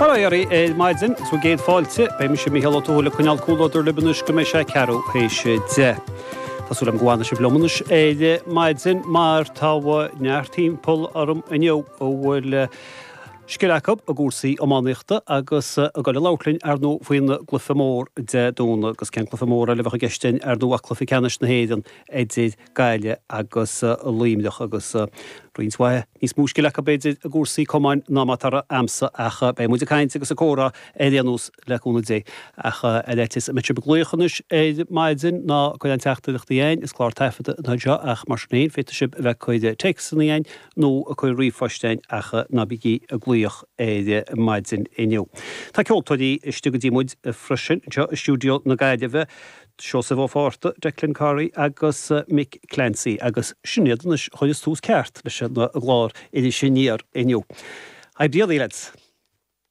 Bail ó Dhia oraibh ar maidin agus bhur gcéad fáilte. Beidh mise Mícheál Ó Tuathail ag coinneáil comhluadar libh anois go mbeidh sé ceathrú théis 10. Tá súil agam go bhfanfaidh sibh liom anois ar maidin mar tá neart timpeall orm inniu a bhfuil scil acu i gcúrsaí iománaíochta agus ag dul a labhairt linn ar ndóigh faoin gcluiche mór Dé Domhnaigh agus cén cluiche mór eile a bheadh i gceist ar ndóigh ach cluiche ceannais na hÉireann idir Gaillimh agus Luimneach agus roinnt mhaith níos mó scil acu b'fhéidir i gcúrsaí camáin ná mar atá a'msa ach beidh muid ag caint agus ag comhrá ar aon nós le cúnamh Dé. Ach ar fhaitíos go mbeidh sibh ag glaoch anois ar maidin ná ag cur aon teachtaireachtaí a'ainn, is clár taifeadta atá anseo ach mar sin féin féadfaidh sibh a bheith ag cur téacsanna a'ainn nó ag cur ríomhphoist a'ainn ach ná bígí ag glaoch ar maidin inniu. Tá ceoltóirí istigh go dtí muid freisin anseo i stiúideo na Gaillimhe. Seosamh Ó Fátharta, Declan Corry agus Mick Clancy agus sin iad anois a chuireas tús ceart leis an gclár Iris Aniar inniu. Haigh Dia daoibh lads!